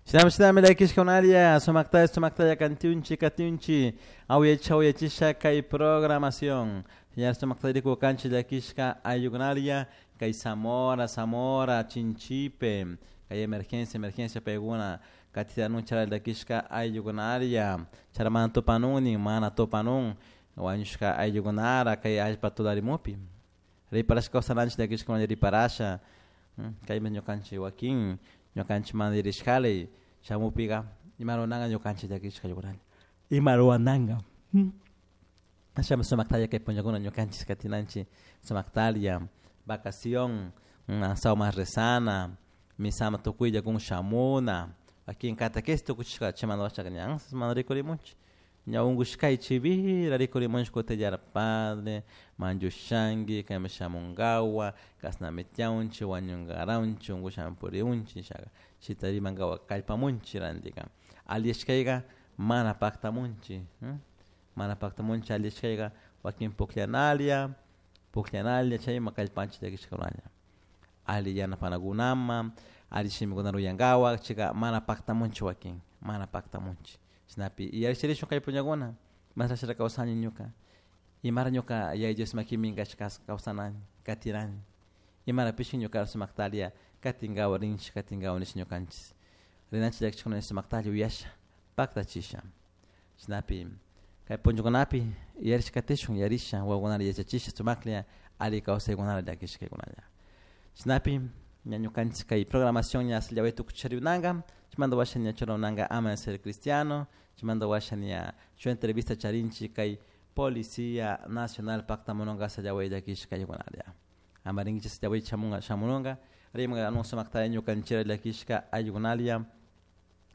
Shinami shinami llakishkunalla sumaktalla sumaktalla kantiunchi katiunchi awyacha awyachisha kay programación. Señor sumaktalla rikukanchik llakishka ayllukunalla kay Zamora, Zamora, Chinchipe, kay emergencia, emergencia paykuna katitanun chara llakishka ayllukunalla chara mana tupanun mana tupanun wañushka ayllukunara kay allpa tularimupi riparashka kawsananchik llakishka riparasha kaymi ñukanchik wakin ñukanchik mana rishkali shamupiga ima ruranka ñukanchik llakishka ayllukunalla ima rurananka ashami sumaktalla kay punllakuna ñukanchik katinanchik sumaktalla vacación sauma rezana misama tukuylla kun shamuna wakin catequesis tukuchishka chaymanta washaka ña mana rikurimunchik ña unkushkay chivira rikurimunchik kutillara padre manllushanki kayman shamunkawa kashnami tiyaunchik wañunkaraunchik unkushami puriunchik nishaka chayta rimankawa kallpamunchik rantika alliyashkayka mana paktamunchik mana paktamunchik alliyashkayka wakin pukllanalla pukllanalla chayma kallpanchik llakishkakunalla alli yanapanakunaman alli shimikunata uyankawa chayka mana paktamunchik wakin mana paktamunchik chashnapi yacharishun kay punllakuna mashnashara kawsani ñuka imara ñuka Yaya Dios makipi minkashka kawsanani katirani imarapish ñuka sumaktalla katinkawa rinchik katinkawa nish ñukanchik rinanchik llakishkuna sumaktalla uyasha paktachisha chashnapi kay punllakunapi yarish katishun yarisha wawakunata yachachisha sumaklla alli kawsaykunata llakishkaykunalla chashnapi ña ñukanchik kay programación ña llaway tukucharunanka chaymanta washa ña churananka Amanecer Cristiano chaymanta washa ña shuk entrevista charinchik kay Policía Nacional paktamununka llaway llakishkaykunalla ama rinkichik llaway shamunga shamununka rimanka sumaktalla ñukanchik llakishka ayllukunalla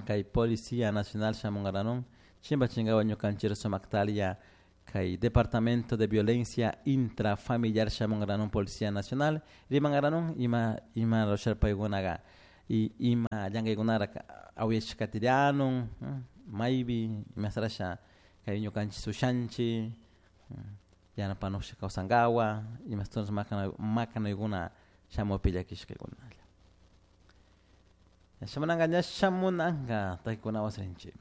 kay Policía Nacional shamunkaranun chimpachinkawa ñukanchik sumaktalla kay Departamento de Violencia Intrafamiliar shamunkaranun Policía Nacional rimankaranun ima ima rushar paykunaka y ima llankaykunara awyashka katirianun maypi imasarasha kay ñukanchik ushanchik yanapanusha kawsankawa imashtush makanaykuna shamupi llakishkaykunalla shamunanka ña shamunanka takikunawan rinchik.